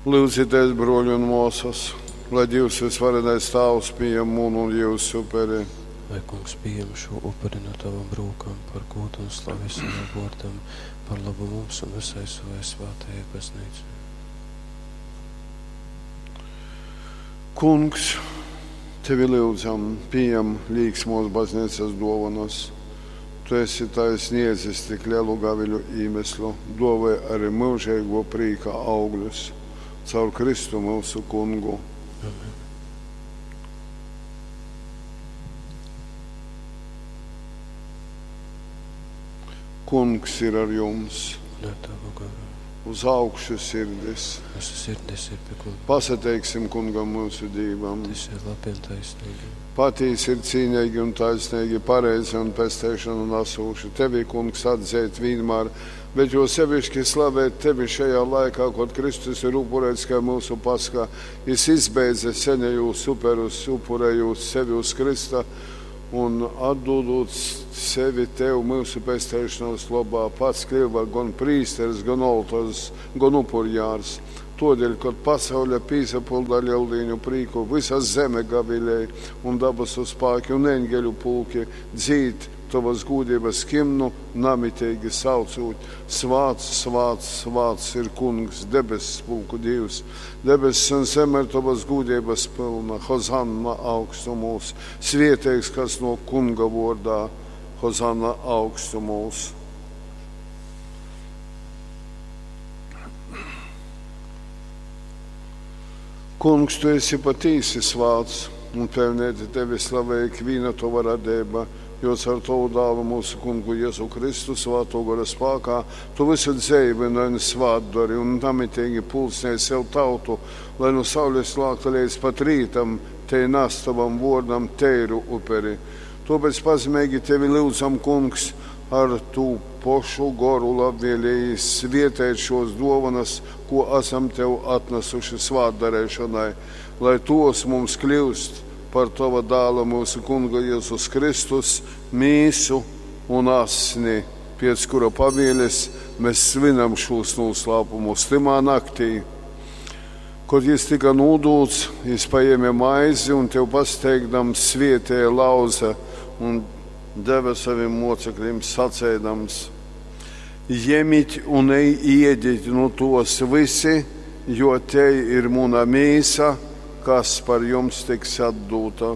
Lyudzitēs, bruoļi un muosys, lai Dīvs vysvarenais Tāvs pījam munu un jyusu uperi. Lai Kungs pījam šū upuri nu tavom rūkām par gūdu un slavi savam vōrdam, par lobu mums un vysai sovai svātajai Baznīcai. Kungs, tevi lyudzam, pījam līksmos bazneicas duovonas. Tu esi tai sniedzis tik lelu gaviļu īmesļu, duovoj ari myužeiguo prīka augļus. Caur Kristu myusu Kungu. Amen. Kungs ir ar jums. Un ar tavu garu. Uz augšu sirdis. Mūsu sirdis ir pie Kunga. Pasateiksim Kungam mūsu Dīvam. Tas ir labi un taisnīgi. Patīsi ir cīnīgi un taisnīgi, pareizi un pesteišanu nesūši. Tevi, Kungs, atzīt vienmēr, bet jo sevišķi slavēt tevi šajā laikā, kad Kristus ir upurēts kā mūsu paskā. Jis izbeidza senejūs uperus, upurējot sevi uz Krista un atdodot sevi tev mūsu pesteišanas lobā, pats kļuva gan prīsteris, gan oltors, gan upurjārs. Todēļ, kad pasaule pīsapilda lieldīņu prīku, visa zeme gavilēja un dabasu spāki un eņģeļu pulki dzīd tavas gūdības himnu, namitīgi saucot: Svāts, svāts, svāts ir Kungs, debesu pulku Dievs. Debesis un zeme ir tavas gūdības pilna, Hozanna augstumos, svieteigs, kas no Kunga vārdā, Hozanna augstumos. Kungs, tu esi patīsi svāts un pelnēti tevi slavē ikviena tava radība, jo caur tavu dālu mūsu kungu Jēzu Kristu svāto gara spākā tu visu dzīvini un svātdari un namitīgi pulcēji sev tautu, lai no saules lākta līdz pat rītam te nes tavam vārdam teiru uperi. Tāpēc pazemīgi tevi lūdzam, kungs, ar tu pošu goru labvēlīgi svietēt šos dovanas, ko esam tev atnesuši svātdarēšanai, lai tos mums kļūst par tava dāla mūsu kunga Jēzus Kristus mīsu un asni, pēc kura pavēles mēs svinam šos noslēpumus timā naktī. Kad jis tika nūdūts, jis paēma maizi un tev pasteigdams svietēja lauza un deva saviem mocekļiem sacēdams: Jemit un ēdiet no tos visi, jo te ir muna mīsa, kas par jums tiks atdūta.